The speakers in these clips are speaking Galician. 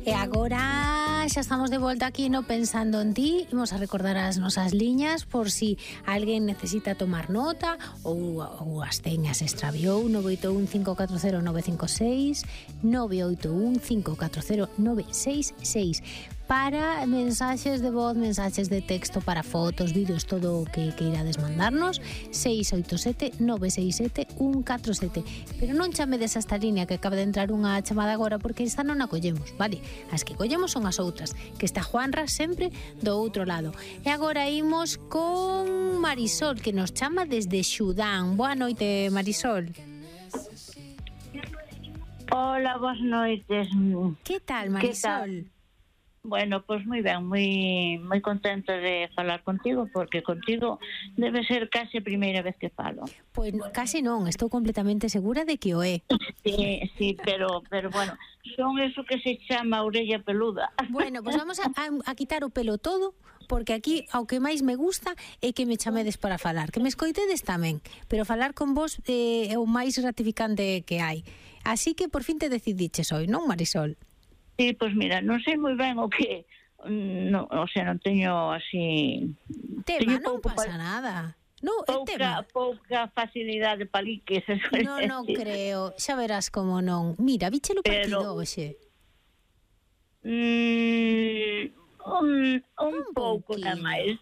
E agora xa estamos de volta aquí no Pensando en Ti. Imos a recordar as nosas liñas por si alguén necesita tomar nota ou as teñas extraviou. 981-540-956 981-540-966 para mensaxes de voz, mensaxes de texto, para fotos, vídeos, todo o que queirades mandarnos. 687-967-147. Pero non chamedes a esta línea que acaba de entrar unha chamada agora, porque esta non a collemos, vale? As que collemos son as outras, que está Juanra sempre do outro lado. E agora imos con Marisol, que nos chama desde Xudán. Boa noite, Marisol. Hola, boas noites. Que tal, Marisol? Que tal? Bueno, pues moi ben, moi contenta de falar contigo, porque contigo debe ser case a primeira vez que falo. Pois case non, estou completamente segura de que o é. Sí, pero bueno, son eso que se chama orella peluda. Bueno, pues vamos a quitar o pelo todo, porque aquí ao que máis me gusta é que me chamedes para falar, que me escoitedes tamén, pero falar con vos é o máis gratificante que hai. Así que por fin te decidiches hoy, non, Marisol? Sí, pois mira, non sei moi ben o que, non teño así... Tema, non pasa nada. No, pouca facilidade de paliques. Non creo, xa verás como non. Mira, víchelo partido hoxe. Un pouco nada máis.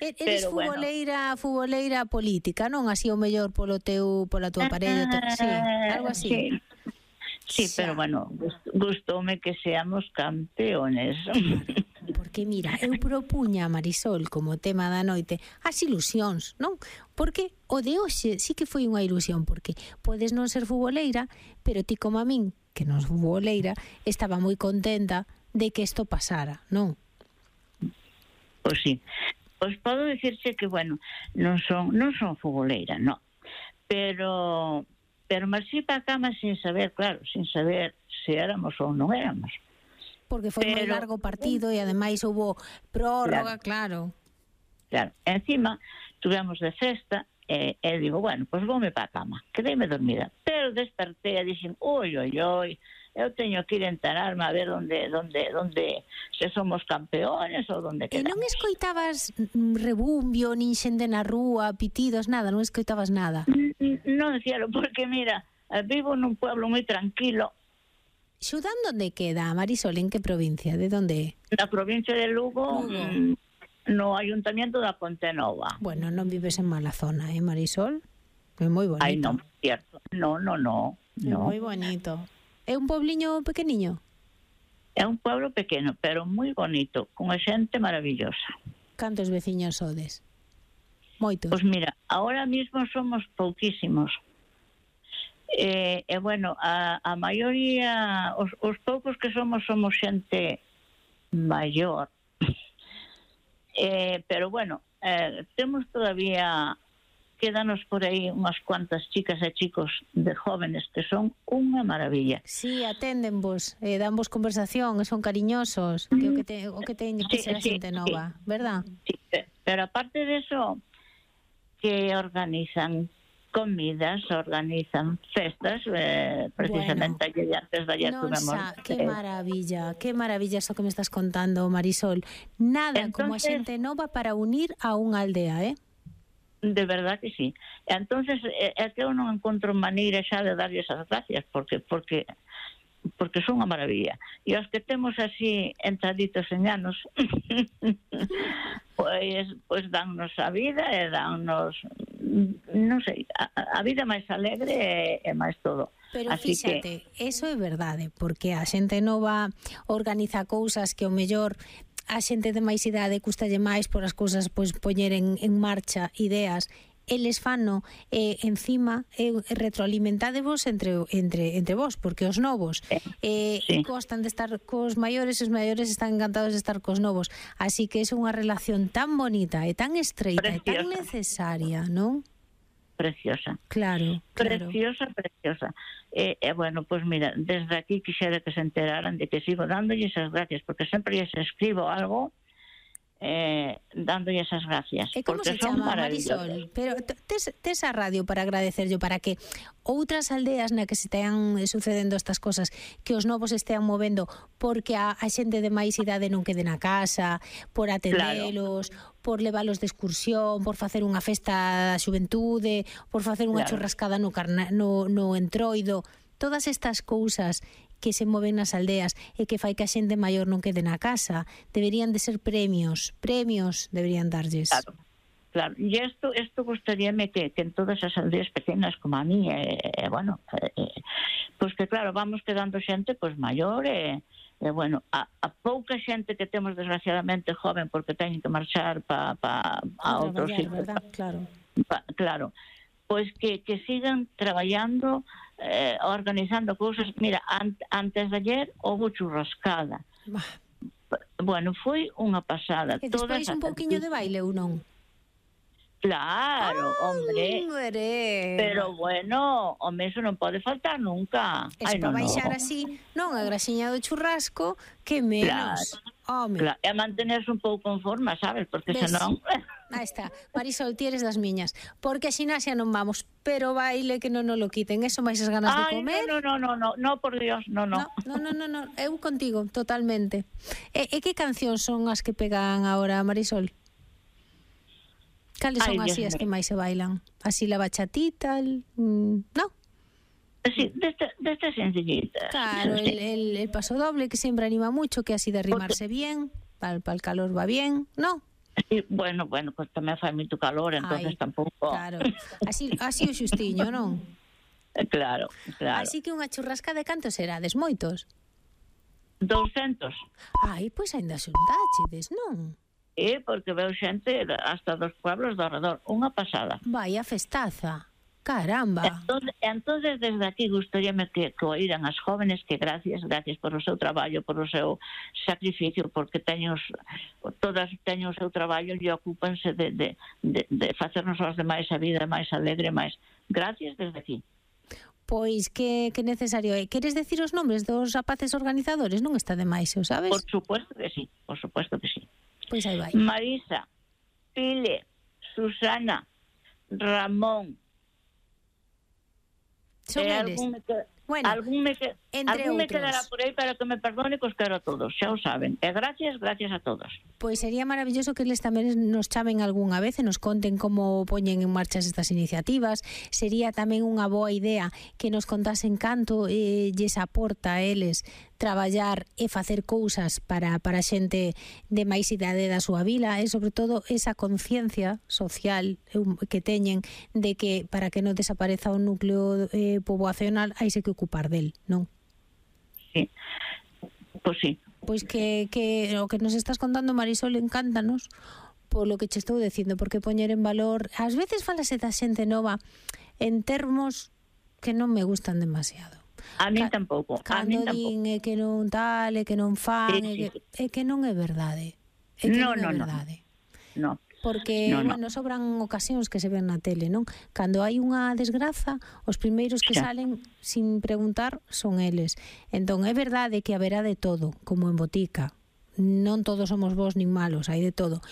Eres futboleira política, non? Así o mellor pola tua parella, sí, algo así. Sí, pero bueno, gustoume que seamos campeones. Porque mira, eu propuña a Marisol como tema da noite as ilusións, non? Porque o de hoxe sí que foi unha ilusión, porque podes non ser futboleira, pero ti como a min, que non sou futboleira, estaba moi contenta de que isto pasara, non? Pois sí. Pois podo dicirche que, bueno, non son futboleira, non. Pero marxí para a cama sin saber se éramos ou non éramos. Porque foi moi largo partido e ademais houbo prórroga, claro. Claro, encima tuvemos de festa e digo, bueno, pois voume para a cama, quedeime dormida. Pero despertei e dixen, oi, eu teño que ir a enterarme a ver onde se somos campeones ou onde quedamos. E non escoitabas rebumbio, nin xente na rúa, pitidos, nada, non escoitabas nada? Non, cielo, porque mira, vivo nun pueblo moi tranquilo. Xudán onde queda, Marisol? En que provincia? De onde é? Na provincia de Lugo. No Ayuntamiento da Pontenova. Bueno, non vives en mala zona, Marisol? É moi bonito. Ai, non, cierto. No. É moi bonito. É un pobliño pequeniño? É un pueblo pequeno, pero moi bonito, con xente maravillosa. Cantos veciños sodes? Moitos? Pois mira, ahora mismo somos pouquísimos. Bueno, a maioría, os poucos que somos xente maior. Pero bueno, temos todavía... Quédanos por aí unhas cuantas chicas e chicos de jóvenes que son unha maravilla. Sí, aténdenvos, danvos conversación, son cariñosos, que o que teñen que ser a xente nova, verdad? Sí, pero aparte de eso, que organizan comidas, organizan festas, precisamente bueno, antes de ayer tuvemos... Qué maravilla eso que me estás contando, Marisol. Nada como a xente nova para unir a unha aldea, De verdad que sí. Entonces é que eu non encontro maneira xa de darlles as gracias porque son unha maravilla. E os que temos así entraditos en anos pois dannos a vida e dannos, non sei, a vida máis alegre e máis todo. Pero fíxate, eso é verdade, porque a xente nova organiza cousas que o mellor a xente de máis idade custalle máis por as cousas pois poñer en marcha ideas. Eles fano encima retroalimentadevos entre vos, porque os novos gostan de estar cos maiores, os maiores están encantados de estar cos novos, así que é unha relación tan bonita e tan estreita e tan necesaria, non? Preciosa. Claro. Preciosa. Bueno, pues mira, desde aquí quixera que se enteraran de que sigo dándolle esas gracias, porque sempre lles escribo algo dándolle esas gracias. E como se chama, Marisol? Pero tes a radio para agradecerlo, para que outras aldeas na que se tean sucedendo estas cosas, que os novos estean movendo porque a xente de máis idade non quede na casa, por atendelos, por levalos de excursión, por facer unha festa da xuventude, por facer unha churrascada no entroido, todas estas cousas que se moven nas aldeas e que fai que a xente maior non quede na casa, deberían de ser premios deberían darlles. Claro, e isto gustaríame que en todas as aldeas pequenas como a mí, pois que claro, vamos quedando xente pois maior bueno, a pouca xente que temos desgraciadamente joven porque teñen que marchar a outros sitios. Claro, pois que sigan traballando, organizando cousas. Mira, antes de ayer houve churrascada. Bueno, foi unha pasada. E despois un pouquiño de baile ou non? Claro, hombre. Pero bueno, home, eso non pode faltar nunca. Para baixar así, non a graxiña do churrasco, que menos. Claro, e mantenerse un pouco en forma, sabes? Porque senón... Aí está, Marisol, ti eres das miñas. Porque a xinasia non vamos, pero baile que non nos lo quiten. Eso máis as ganas de comer. No, por Dios, no. No, eu contigo, totalmente. E que cancións son as que pegan agora, Marisol? Cales son así as que máis se bailan? Así la bachatita, no? Sí, destas sencillitas. Claro, el paso doble que sempre anima mucho, que así de rimarse bien, para el calor va bien, ¿no? Sí, bueno, pues tamén fai moito calor, entonces tampouco. Claro, así o xustiño, non? Claro. Así que unha churrasca de cantos serades, moitos? 200. Pois ainda xuntáchedes, non? Porque veo xente hasta dos pueblos do alrededor, unha pasada. Vaya festaza. Caramba. Entonces desde aquí gustaríame que oíran as jóvenes que gracias por o seu traballo, por o seu sacrificio, porque todas teñen o seu traballo e ocúpanse de facernos aos demais a vida máis alegre, máis. Gracias desde aquí. Pois que necesario é. Queres decir os nombres dos rapaces organizadores? Non está de máis, o sabes? Por supuesto que sí. Pois aí vai. Marisa, Pile, Susana, Ramón. Son eles. Algún me quedará por aí, para que me perdone, que os quero a todos, xa o saben. E gracias a todos. Pois sería maravilloso que eles tamén nos chamen algunha vez e nos conten como poñen en marcha estas iniciativas. Sería tamén unha boa idea que nos contasen canto lles aporta a eles traballar e facer cousas para a xente de máis idade da súa vila, e sobre todo esa conciencia social que teñen de que para que non desapareza o núcleo poboacional haise que ocupar del, non? Sí, pois sí. Pois que o que nos estás contando, Marisol, encántanos polo que che estou dicindo, porque poñer en valor, ás veces falase da xente nova en termos que non me gustan demasiado. A mí tampouco. Cando din que non tal, que non fan, é que non é verdade. É que non é verdade. No. Porque, bueno, sobran ocasións que se ven na tele, non? Cando hai unha desgraza, os primeiros que salen sin preguntar son eles. Entón, é verdade que haberá de todo, como en botica. Non todos somos bons nin malos, hai de todo.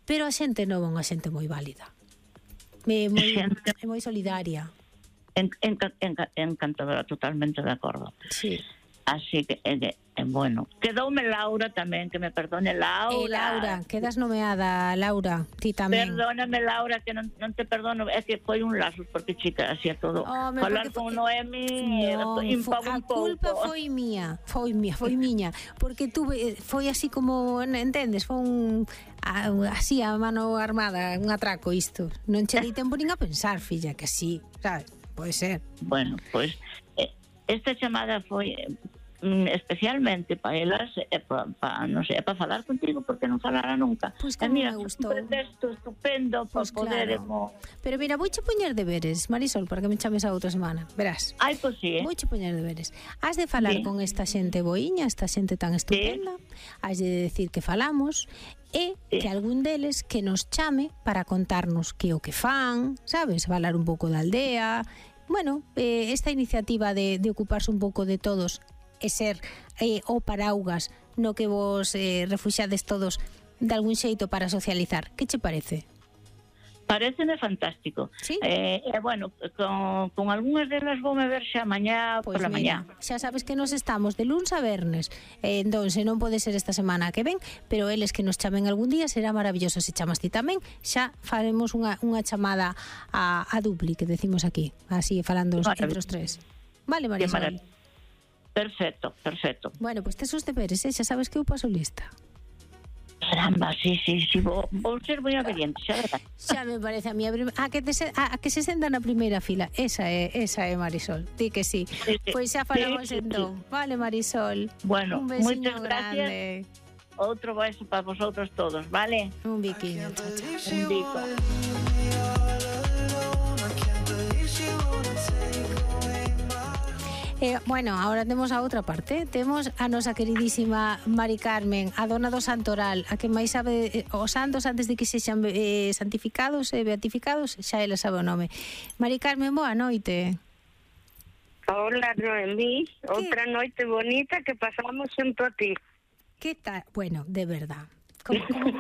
Pero a xente nova é unha xente moi válida. É moi solidaria. Encantadora, totalmente de acordo. Sí. Así que, bueno, quedoume Laura tamén, que me perdone Laura. Laura, quedas nomeada, Laura, ti tamén. Perdóname, Laura, que non te perdono, é que foi un lazo, porque chica, así a todo. Falar con Noemi, a culpa foi miña, porque tuve, foi así como, entendes, foi así a mano armada, un atraco isto. Non che dei tempo nin a pensar, filla, que sí, sabes? Pode ser. Bueno, pois esta chamada foi especialmente para elas, non sei, para falar contigo, porque non falara nunca. Pois que me gustou. Un pretexto estupendo para poder... Pero mira, vouche poñer deberes, Marisol, para que me chames a outra semana, verás. Pois sí, Vouche poñer deberes. Has de falar con esta xente boiña, esta xente tan estupenda, has de decir que falamos, e que algún deles que nos chame para contarnos que o que fan, sabes, falar un pouco da aldea. Bueno, esta iniciativa de ocuparse un pouco de todos e ser o paraugas no que vos refuxades todos de algún xeito para socializar. Que che parece? Pareceme fantástico. Sí? Bueno, con algunhas delas voume ver xa mañá Pois pola mira, mañá. xa sabes que nos estamos de luns a vernes, entón se non pode ser esta semana que ven, pero eles que nos chamen algún día será maravilloso. Se chamas ti tamén, xa faremos unha chamada a dupli, que decimos aquí, así falando entre os tres. Vale, Marisol? Perfecto. Bueno, pois tes os deberes, xa sabes que eu paso lista. Caramba, sí, vou ser moi obediente, xa verdad. Xa me parece a mí a que se senta na primeira fila. Esa é Marisol. Di que sí. Pois xa falamos entón. Vale, Marisol. Bueno, un besiño moitas grande. Gracias. Outro beso para vosotros todos, vale? Un biquiño, chao. Un bico. Bueno, ahora temos a outra parte. Temos a nosa queridísima Mari Carmen, a dona do Santoral, a que máis sabe os santos antes de que sexan santificados e beatificados, xa ela sabe o nome. Mari Carmen, boa noite. Hola, Noemí. Outra noite bonita que pasamos xunto a ti. Que tal? Bueno, de verdad.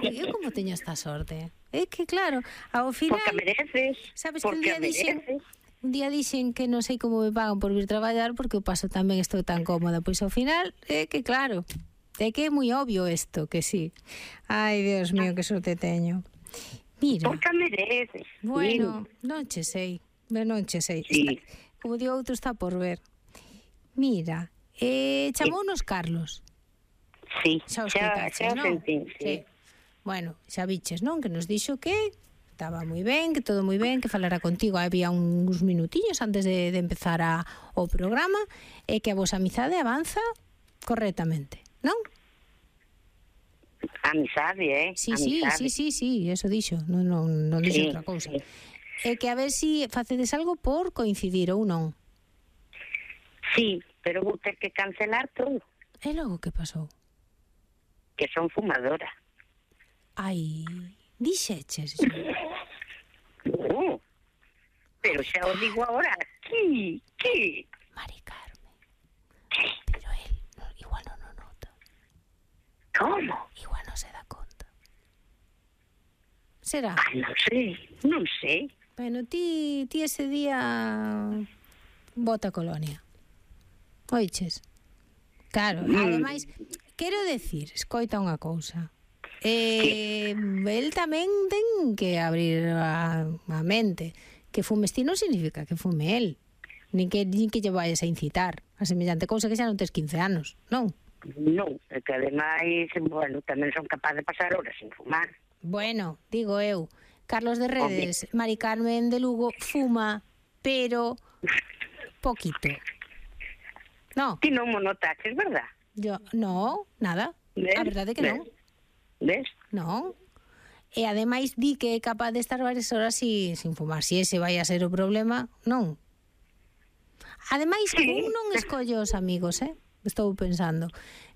Eu como teño esta sorte? É que claro, ao final... Porque mereces. Sabes que un día dixen que non sei como me pagan por vir traballar porque o paso tamén estou tan cómoda. Pois ao final, é que claro, é que é moi obvio isto, que sí. Ai, Dios mío, que sorte teño. Mira. Porque mereces. Bueno, non che sei. Sí. Como digo, outro está por ver. Mira, chamounos Carlos. Sí, xa xa non? sentín, sí. Bueno, xa viches, non? Que nos dixo que estaba moi ben, que todo moi ben, que falara contigo había uns minutiños antes de empezar o programa, e que a vosa amizade avanza correctamente, non? Amizade, Sí, amizade. sí, eso dixo, non dixo Sí, outra cousa. sí. E que a ver si facedes algo por coincidir ou non. Sí, pero vou ter que cancelar todo, E logo que pasou? que son fumadora. Ai, dixeches. Pero xa o digo agora. Que? Mari Carmen. Pero él igual non o nota. Como? Igual non se dá conta. Será? Non sei. Bueno, ti ese día bota colonia. Oiches? Claro, ademais, quero decir, escoita unha cousa. El tamén ten que abrir a mente. Que fumes ti non significa que fume el. Nin que lle vayas a incitar a semellante cousa que xa non tes 15 anos, non? Non, é que ademais, bueno, tamén son capaz de pasar horas sin fumar. Bueno, digo eu, Carlos de Redes, Mari Carmen de Lugo fuma, pero poquito. No. Ti non mo notaches, verdad? Yo, no, nada. ¿Ves? A verdade que non. Ves? Non. E ademais di que é capaz de estar varias horas sin fumar. Si ese vai a ser o problema, non. Ademais, un non escolle os amigos, estou pensando.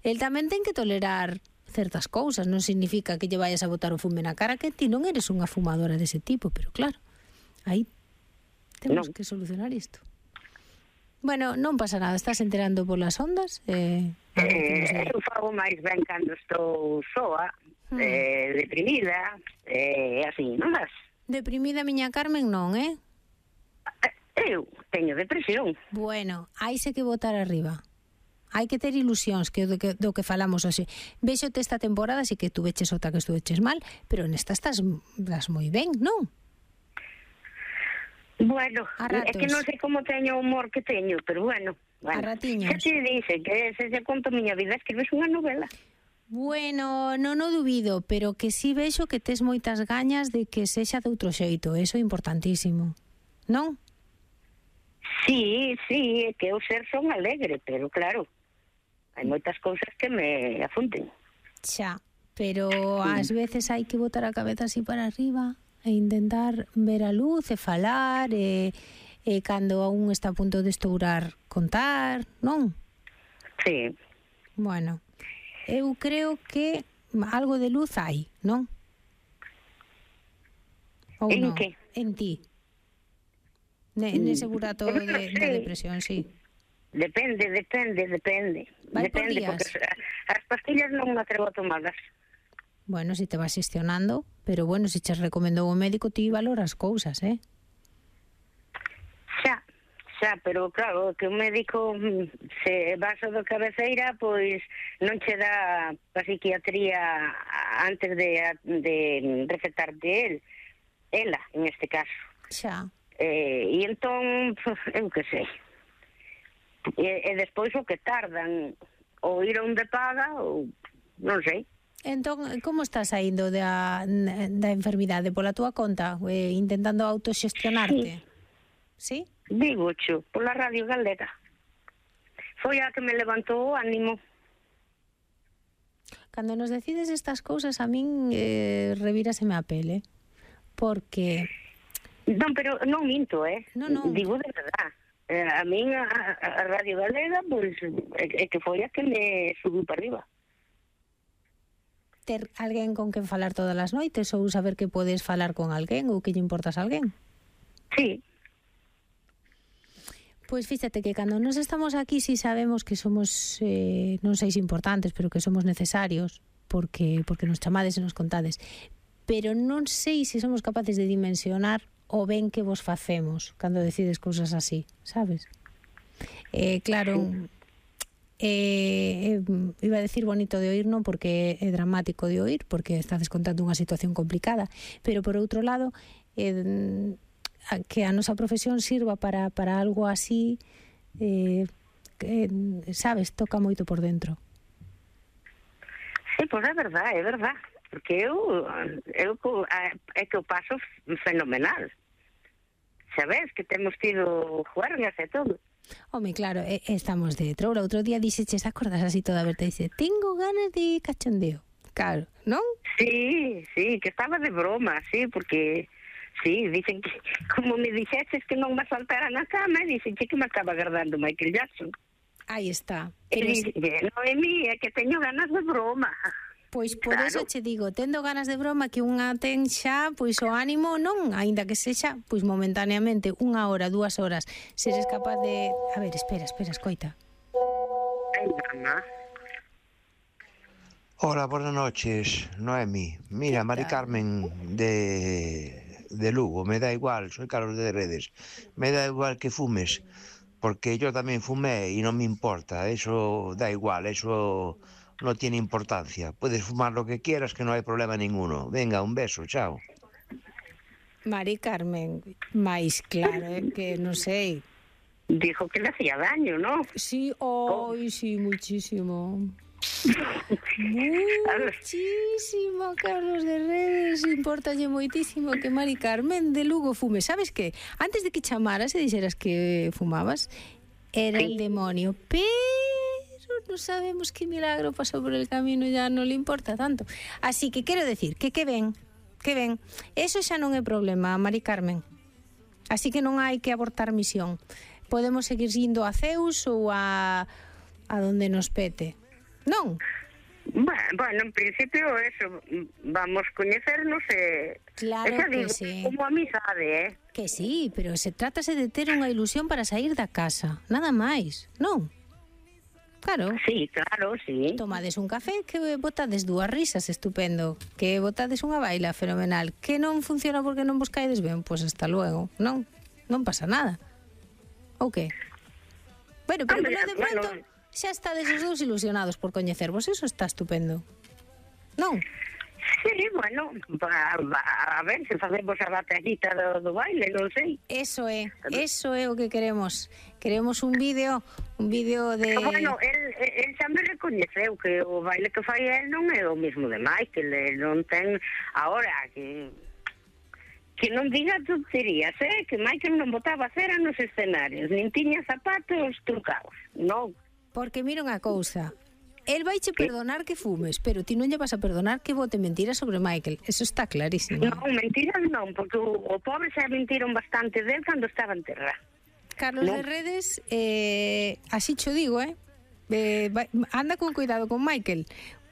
El tamén ten que tolerar certas cousas. Non significa que lle vayas a botar o fume na cara, que ti non eres unha fumadora dese tipo, pero claro, aí temos que solucionar isto. Bueno, non pasa nada, estás enterando polas ondas. Eu fago máis ben cando estou soa, deprimida, así, non vas? Deprimida, miña Carmen, non, Eu teño depresión. Bueno, haise que botar arriba. Hai que ter ilusións, que do que falamos hoxe. Véxote esta temporada, así que tú veches outra que estuveches mal, pero nesta estás moi ben, non? Bueno, é que non sei como teño o humor que teño, pero bueno. A ratiños. Xa te dice que se conto miña vida, escribes unha novela. Bueno, non o dubido, pero que si vexo que tes moitas gañas de que sexa de outro xeito, eso é importantísimo, non? Sí, é que eu ser son alegre, pero claro, hai moitas cousas que me afunten. Xa, pero ás veces hai que botar a cabeza así para arriba e intentar ver a luz e falar e cando aún está a punto de estourar contar, non? Sí. Bueno, eu creo que algo de luz hai, non? Ou en non? que? En ti. Nese burato da depresión, sí. Depende. Vai por Depende, días. porque as pastillas non me atrevo a tomarlas. Bueno, si te vas xestionando, pero bueno, se che recomendou o médico, ti valoras cousas, Xa, pero claro, que o médico se vas ao do cabeceira, pois non che dá a psiquiatría antes de recetarte ela, en este caso. Xa. E entón, eu que sei. E despois o que tardan, ou ir onde paga, ou non sei. Entón, como estás saindo da enfermidade? Pola túa conta? Intentando autoxestionarte? Sí? Digo, xo, pola Radio Galega. Foi a que me levantou o ánimo. Cando nos decides estas cousas, a min revíraseme a pele. Porque... Non, pero non minto, No. Digo de verdad. A min a Radio Galega, pois, é que foi a que me subiu para arriba. Ter alguén con quen falar todas as noites ou saber que podes falar con alguén ou que lle importas a alguén? Sí. Pois fíxate que cando nos estamos aquí si sabemos que somos non seis importantes, pero que somos necesarios porque nos chamades e nos contades. Pero non sei se somos capaces de dimensionar o ben que vos facemos cando decides cousas así, sabes? Claro, iba a decir bonito de oír, non porque é dramático de oír, porque estades contando unha situación complicada, pero por outro lado que a nosa profesión sirva para algo así, sabes, toca moito por dentro. Sí, pois é verdade, porque eu é que o paso fenomenal. Sabes que temos tido juergas e todo. Home, claro, estamos de troula. Outro día dixeches, acordas así toda a verte, dice, tengo ganas de cachondeo. Claro, non? Sí, que estaba de broma, sí, porque sí, dicen que como me dixeches que non me saltara na cama, dicen que me acaba agardando Michael Jackson. Aí está. E dicen, non é mí, é que teño ganas de broma. Pois por eso che digo, tendo ganas de broma que unha ten xa, pois o ánimo non, aínda que sexa, pois momentaneamente, 1 hora, 2 horas, seres capaz de... A ver, espera, escoita. Ai, mamá. Hola, buenas noches, Noemi. Mira, Mari Carmen de Lugo, me da igual, soy Carlos de Redes, me da igual que fumes, porque yo también fumé y no me importa, eso da igual, eso... no tiene importancia. Puedes fumar lo que quieras, que no hay problema ninguno. Venga, un beso, chao. Mari Carmen, máis claro, que non sei. Dijo que le hacía daño, ¿no? Sí, hoy sí, muchísimo. Muchísimo, Carlos de Redes, importalle moitísimo que Mari Carmen de Lugo fume. Sabes que antes de que chamaras e dixeras que fumabas, era el demonio, pero no sabemos qué milagro pasó por el camino, ya no le importa tanto. Así que quero decir que ven. Eso xa non é problema, Mari Carmen. Así que non hai que abortar misión. Podemos seguir indo a Zeus ou a donde nos pete. Non? Bueno, en principio eso, vamos coñecernos e... Claro que digo, sí. Como amizade, Que sí, pero se trátase de ter unha ilusión para sair da casa, nada máis, non? Claro. Sí, claro, sí. Tomades un café, que botades 2 risas, estupendo. Que botades unha baila, fenomenal. Que non funciona porque non vos caedes ben, pois hasta luego. Non pasa nada. Ou que? Bueno, pero de pronto xa estades os dous ilusionados por coñecervos, eso está estupendo. Non? Sí, bueno, a ver se facemos a batallita do baile, non sei. Eso é o que queremos. Queremos un vídeo de... Bueno, el xa me recoñeceu que o baile que fai el non é o mismo de Michael, non ten... Ahora, que non diga tonterías, que Michael non botaba cera nos escenarios, nin tiña zapatos trucados, non. Porque mira unha cousa, el vaiche perdonar que fumes, pero ti non lle vas a perdonar que bote mentiras sobre Michael. Eso está clarísimo. Non, mentiras non, porque o pobre xa mentiron bastante del cando estaba en terra. Carlos de Redes, así cho digo, anda con cuidado con Michael,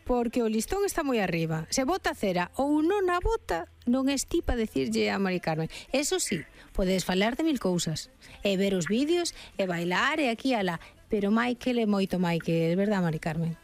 porque o listón está moi arriba. Se bota cera ou non a bota, non estipa decirlle a Mari Carmen. Eso sí, podes falar de 1000 cousas, e ver os vídeos, e bailar, e aquí e alá, pero Michael é moito Michael, verdad, Mari Carmen?